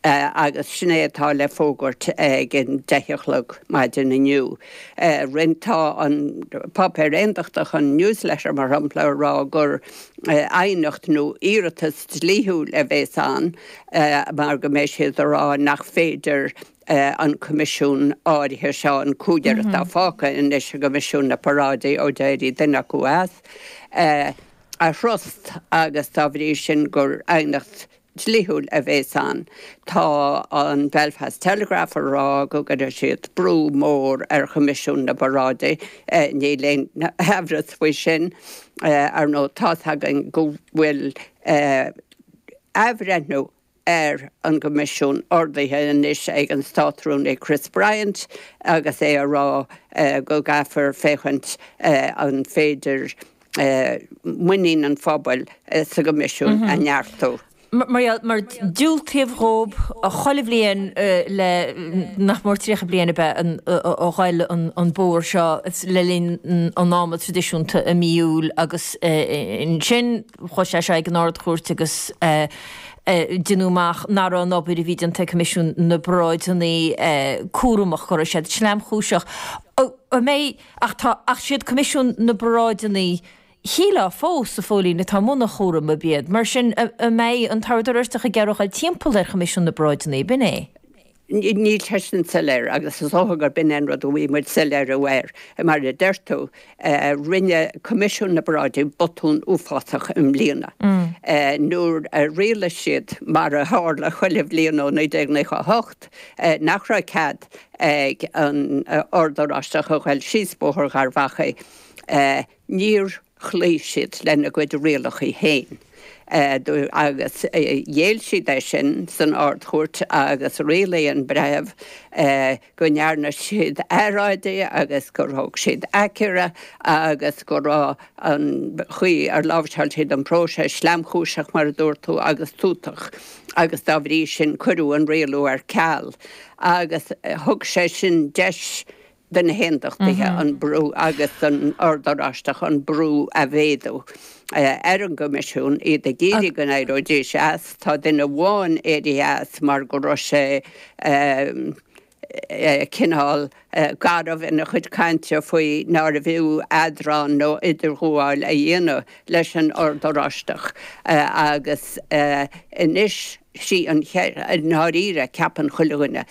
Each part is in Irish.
Agus sin é atá le fógairt ag an 10 a chlog maidin inniu. Rinne, tá an páipéar aontachtach, an News Letter mar shampla, ag rá gur aighneacht nó iarratas dlíthiúil a bhéas ann mar go mbeidh siad ag rá nach féidir an coimisiún áirithe seo, an cúigear atá fágtha anois i gCoimisiún na bParáidí ó d'éirigh duine acu as, a thrust agus dá bhrí sin gur aighneacht dlíthiúil a bhéas ann. Tá an Belfast Telegraph ag rá go gcuirfidh siad brú mór ar Choimisiún na bParáidí. Níl aon amhras faoi sin. Ar ndóigh, tá's againn go bhfuil athbhreithniú ar an gCoimisiún ordaithe anois ag an Státrúnaí Chris Bryant agus é ag rá go gcaithfear féachaint an féidir muinín an phobail sa gCoimisiún a neartú. Mar mar diúltaíodh dhób chuile bhliain le nach mór 30 bliain ab ea a ghoil an bóthar seo le linn an ama traidisiúnta i mí Iúil agus ansin chuaigh sé seo ag an Ard-Chúirt agus deineadh amach nach raibh an obair a bhí déanta ag Coimisiún na bParáideanna cúramach, go raibh siad sleamchúiseach. An mbeidh Ach tá, ach siad Coimisiún na bParáideanna, shílfeá fós, a Phóilín, atá i mbun an chúraim, ab iad. Mar sin, an mbeidh an tOrd Oráisteach ag iarraidh a ghoil timpeall ar Choimisiún na bParáideanna, b'in é? Níl sé sin soiléir agus is dócha gurb in é an rud a bhfuil muid soiléiriú air. Mar a deir tú, rinne Coimisiún na bParáidí botún uafásach i mbliana nuair a rialaigh siad, mar a tharla chuile bhliain ó 1998, nach raibh cead ag an Ord Oráisteach a ghoil síos Bóthar Gharbh Achaidh. Níor chloígh siad lena gcuid rialacha féin agus ghéill siad é sin san Ard-Chúirt agus rialaigh an breitheamh go ndearna siad earráidí agus gur thóg siad aicearra agus go raibh an chaoi ar láimhseáil siad an próiseas sleamchúiseach, mar a dúirt tú, agus tútach agus dá bhrí sin cuireadh an rialú ar ceal agus thug sé sin deis do na hAondachtaithe an brú agus don Ord Oráisteach an brú a mhéadú ar an gCoimisiún, iad ag iarraidh go n-éireoidís as. Tá duine amháin éirithe as mar go raibh sé cineál garbh ina chuid cainte faoi nárbh fhiú eadráin nó idirghabháil a dhéanamh leis an Ord Oráisteach agus anois sí an cheist, i ndáiríre, ceapann chuile dhuine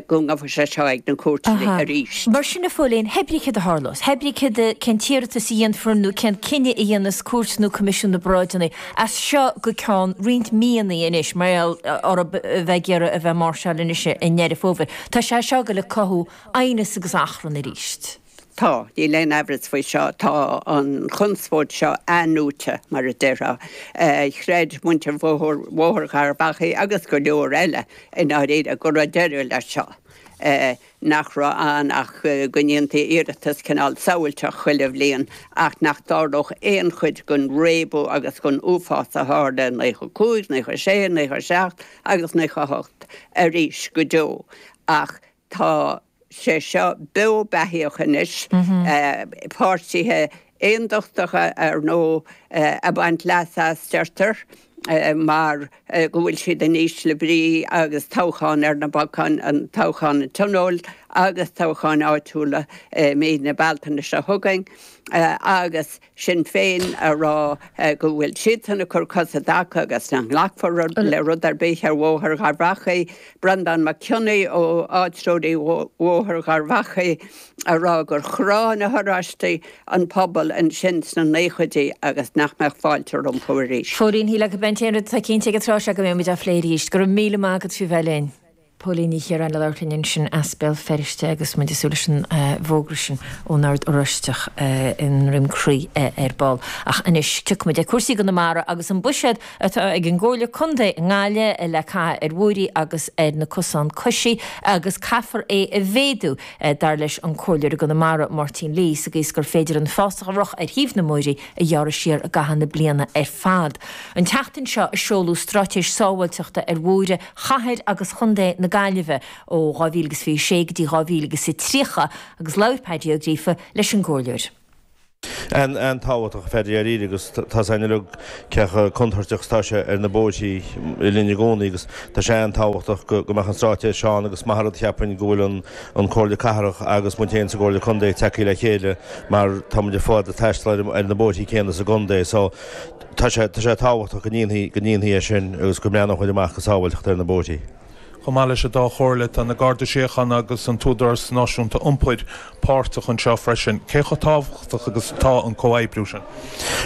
go ngabhfaidh sé seo ag na cúirteanna arís. Mar sin, a Phóilín, hé brí céard a tharlós, hé brí céard, cén t-iarratas a dhéanfar nó cén cinneadh a dhéanfas cúirt nó Coimisiún na bParáideanna as seo go ceann roinnt míonna anois, mar gheall orthu a bheith ag iarraidh a bheith ag máirseáil anois i nDeireadh Fómhair. Tá sé seo ag goil ag cothú aighneas agus achrann arís. Tá, níl aon aimhreas faoi seo, tá an chonspóid seo athnuaite, mar a déarfá. Chreid muintir Bhóthar Gharbh Achaidh agus go leor eile i ndáiríre go raibh deireadh leis seo. nach raibh ann ach go ndéantaí iarratas cineál samhailteach chuile bhliain ach nach dtarlódh aon chuid den réabadh agus den uafás a tharla i 95, 96, 97 agus 98 arís go deo. Ach tá sé seo beo beathaíoch anois, páirtithe aondachtacha ar ndóigh ag baint leas as, deirtear. mar go bhfuil siad in ísle brí agus toghchán ar na bacáin, an toghchán an Tionóil agus toghcháin áitiúla i mí na Bealtaine seo chugainn, agus Sinn Féin a rá go bhfuil siadsan ag cur cos i dtaca agus nach nglacfar le rud ar bith ar Bhóthar Gharbh Achaidh, Breandán Mac Cionnaith ó áitreoirí Bhóthar Gharbh Achaidh a rá gur chrá na hOráistigh an pobal ansin sna naochaidí agus nach mbeadh fáilte rompu arís. Póilín, Shílfeá gurb é an t-aon rud atá cinnte ag an tráth seo go mbeidh muid á phlé arís. Go raibh míle maith agat faoi bheith linn. Póilín Ní Chiaráin ag labhairt linn ansin as Béal Feirste agus muid ag súil leis an bhfógra sin ón Ord Oráisteach i nDroim Crí ar ball. Ach anois tiocfaidh muid ar cúrsaí i gConamara agus an buiséad atá ag an gComhairle Contae i nGaillimh le caitheamh ar bhóithrí agus ar na cosáin coisí agus caithfear é a mhéadú. Dar leis an Comhairleoir i gConamara, Máirtín Lee, sa gcaoi is gur féidir an fásach a raibh ar thaobh na mbóithrí a ghearradh siar i gcaitheamh na bliana ar fad. An tseachtain seo a seoladh Straitéis Sábháilteachta ar Bhóithre Chathair agus Chontae na Gaillimhe ó 2026 go dtí 2030 agus labhair Paddy Ó Gríofa leis an gComhairleoir. An-tábhachtach, a Phaddy, dáiríre, agus tá's againn uilig cé chomh contúirteach is atá sé ar na bóithrí linn i gcónaí agus tá sé an-tábhachtach go mbeadh an straitéis seo ann agus maith an rud cheapfainn go bhfuil an Comhairle Cathrach agus muid féin sa gComhairle Contae tagtha le chéile mar tá muid ar fad ag taisteal ar na bóithrí céanna sa gcontae so tá sé tá sé tábhachtach go ndéanfaí go ndéanfaí é sin agus go mbreathnódh muid amach go sábháilteacht ar na bóithrí. Chomh maith leis an dá chomhairle, tá na Gardaí Síochána agus an tÚdarás Náisiúnta Iompair páirteach anseo freisin. Cé chomh tábhachtach agus atá an comhoibriú sin?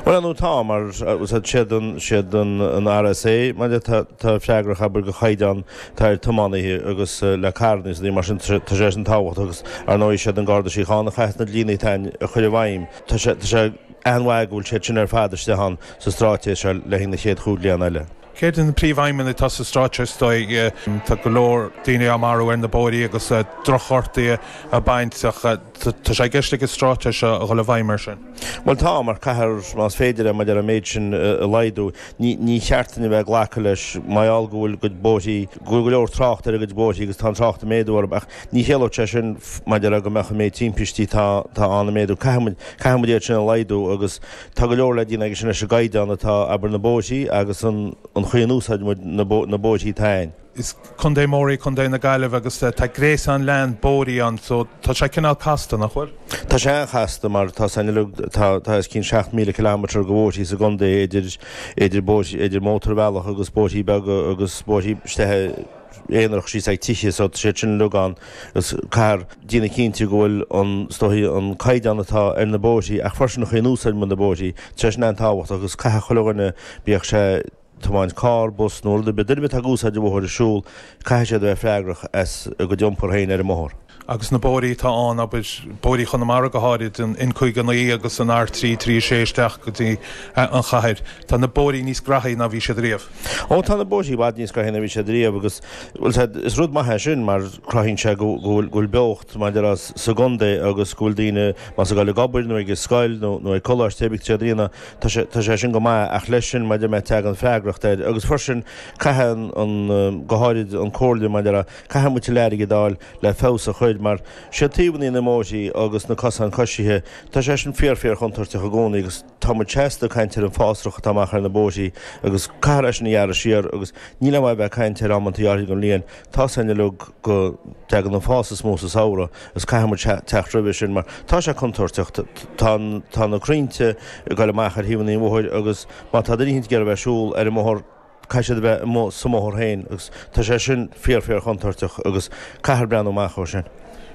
Bhuel, ar ndóigh tá, mar siad an, siad an RSA mar atá freagrach, abair, go chaighdeán atá ar tiománaithe agus le carranna is rudaí mar sin, tá sé sin tábhachtach agus ar ndóigh siad an Garda Síochána a chaithfeas na dlíthe atá ann a chur i bhfeidhm. Tá sé, tá sé an-mhaith go bhfuil siad sin ar fad istigh ann sa straitéis seo le haghaidh na chéad chúig bliana eile. Céard iad na príomhaidhmeanna atá sa straitéis is dóigh? Tá go leor daoine á marú ar na bóithrí agus drochghortuithe á mbaint ach tá sé i gceist ag an straitéis seo a dhul i bhfeidhm air sin. Bhuel tá, mar caithfear, más féidir é, maidir an méid sin a laghdú. Ní cheart duinn a bheith ag glacadh leis, mar gheall go bhfuil cuid bóithrí, go bhfuil go leor trácht ar a gcuid bóithrí agus tá an trácht ag méadú orthu ach ní chiallódh sé sin maidir le go mbeadh an méid timpistí atá ann ag méadú. Caithfidh muid, caithfidh muid iad sin a laghdú agus Tá go leor le déanamh aige sin leis an gcaighdeán atá, abair, na bóithrí agus an chaoi a n-úsáideann muid na bóithrí atá againn. Is contae mór í Contae na Gaillimhe agus tá gréasán leathan bóithrí ann so tá sé cineál casta, nach bhfuil? Tá sé an-chasta mar tá san uilig, tá tá os cionn 7,000 kilometre de bhóithrí sa gcontae idir idir bóithrí, idir mótarbhealach agus bóithrí beaga agus bóithrí istigh aonarach síos ag tithe so tá siad sin uilig ann agus caithfear déanamh cinnte go bhfuil an, is dóichí, an caighdeán atá ar na bóithrí ach freisin an chaoi a n-úsáideann muid na bóithrí, tá sé sin an-tábhachtach agus caithfidh chuile dhuine, bíodh sé tiomáint carr, bus nó rud ar bith, duine ar bith atá ag úsáid an bhóthair ag siúl, caithfidh siad a bheith freagrach as a gcuid iompar féin ar an mbóthar. Agus na bóithrí atá ann, abair, bóithrí Chonamara go háirid, an N59 agus an R336 isteach go dtí an chathair, tá na bóithrí níos graithí ná bhí siad riamh. Ó, tá na bóithrí i bhfad níos graithí ná bhí siad riamh agus, bhuel, sea, is rud maith é sin mar cruthaíonn sé go bhfuil, go bhfuil beocht maidir le sa gcontae agus go bhfuil daoine, más ag dul ag obair nó ag an scoil nó, nó ag coláiste, cibé cad atá siad a dhéanamh, tá sé, tá sé sin go maith ach leis sin maidir le tagann freagracht air agus freisin caithfidh an, an, go háirid an comhairle maidir le, Caithfidh muid tuilleadh airgid a fháil le feabhas a chur mar siad taobhanna na mbóithrí agus na cosáin coisithe, tá sé sin fíor fíor chontúirteach i gcónaí agus tá muid seasta ag caint ar an fásrach atá amach ar na bóithrí agus caithfear é sin a ghearradh siar agus níl aon mhaith a bheith ag caint ar amantaí áirithe den bhliain, tá's againn uilig go dtagann an fás is mó sa samhradh agus caithfidh muid teacht roimhe sin mar tá sé contúirteach, tá tá na crainnte ag dul amach ar thaobhanna an bhóthair agus má tá duine éicint ag iarraidh a bheith ag siúl ar an mbóthar, Caithfidh siad a bheith amuigh sa mbóthar féin agus tá sé sin fíor fíor chontúirteach agus caithfear breathnú amach ó sin.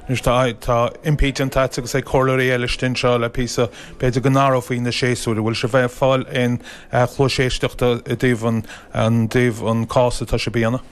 Anois tá tá impí déanta agat agus ag comhairleoirí eile istigh anseo le píosa, b'fhéidir go n-athrófaí na séasúir. An bhfuil sibh ag fáil aon chluais éisteachta i dtaobh an an dtaobh an cás atá sibh a dhéanamh?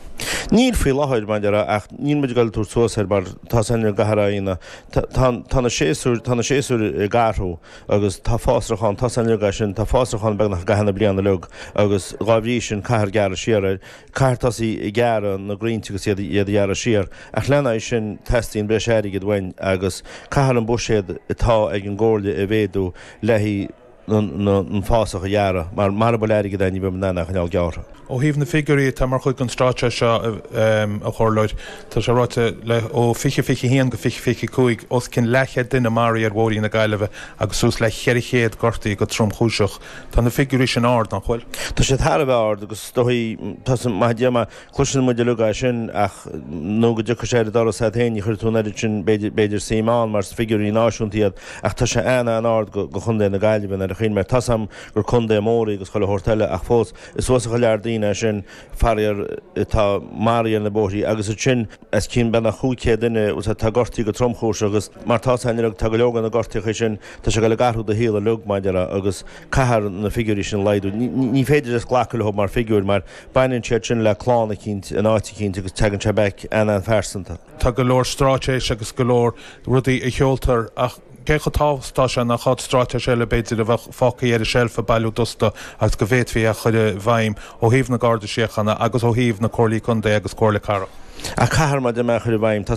Níl faoi láthair, mar a déarfá, ach níl muid ag dul ag tabhairt suas air mar tá's againn go gcaithfear é a dhéanamh. Tá tá na séasúir tá na séasúir ag athrú. Agus tá fásrach ann, tá's againn uilig é sin, tá fásrach ann beagnach i gcaitheamh na bliana uilig agus dhá bhrí sin caithfear gearradh siar air, caithfear tosaí ag gearradh na gcrainnte agus iad iad a ghearradh siar. Ach lena aghaidh sin teastaíonn breis airgid uainn agus caithfear an buiséad atá ag an gComhairle a mhéadú le haghaidh an fásach a ghearradh mar mara bhfuil airgead ann ní bheidh muid in ann é a choinneáil gearrtha. Ó thaobh na figiúirí atá mar chuid den straitéis seo, a Chomhairleoir, tá sé ráite le ó 2021 go 2025, os cionn leathchéad duine maraithe ar bhóithrí na Gaillimhe agus suas le 400 gortaithe go tromchúiseach. Tá na figiúirí sin ard, nach bhfuil? Tá siad thar a bheith ard agus is dóichí, tá san, maith Dé maith, cloiseann muid uilig é sin ach nó go dtiocfaidh sé ar an doras agat féin ní chuirfidh tú an oiread sin b'fhéidir, b'fhéidir suim ann mar is figiúirí náisiúnta iad ach tá sé an-an-ard go, go Chontae na Gaillimhe nuair a chuimhním air. Tá's a'm gur contae mór í agus chuile shórt eile ach fós, Is suas go lear daoine é sin, faraor, atá maraithe ar na bóithrí agus ansin os cionn beagnach 500 duine atá gortaithe go tromchúiseach agus mar tá's againn uilig tá go leor de na gortaíochaí sin, tá sé ag dul ag athrú do shaol uilig mar a déarfá agus caithfear na figiúirí sin a laghdú. Ní féidir just glacadh leo mar figiúir mar baineann siad sin le clann eicínt in áit eicínt agus tagann sé back an-an-phearsanta. Tá go leor straitéis agus go leor rudaí a sheoltar ach cé chomh tábhachtach atá sé nach iad straitéis eile b'fhéidir a bheadh fágtha ar an tseilf ag bailiú dusta agus go bhféadfaí a chur i bhfeidhm ó thaobh na Garda Síochána agus ó thaobh na Comhairlí Contae agus Comhairle Cathrach. Ach caithfear mar a deir mé a chur i bhfeidhm, tá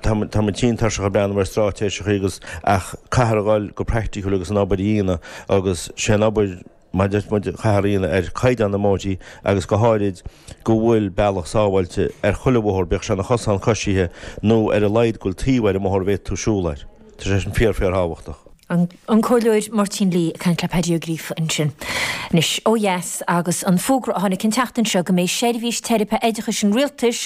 tá tá muid tinn tuirseach ag breathnú ar straitéiseacha agus ach caithfear a dhul go praiticiúil agus an obair a dhéanamh agus sé an obair mar a deir muid, caithfear a dhéanamh ar chaighdeán na mbóithrí agus go háirid go bhfuil bealach sábháilte ar chuile bhóthar, bíodh sé ina chosán coisithe nó ar a laghad go bhfuil taobh ar an mbóthar a bhféadfaidh tú siúl air. Tá sé sin fíor, fíor thábhachtach. An Comhairleoir Máirtín Lee ag caint le Paddy Ó Gríofa ansin. Anois, ó dheas agus an fógra a tháinig an tseachtain seo go mbeidh seirbhís teiripe oideachais an Rialtais.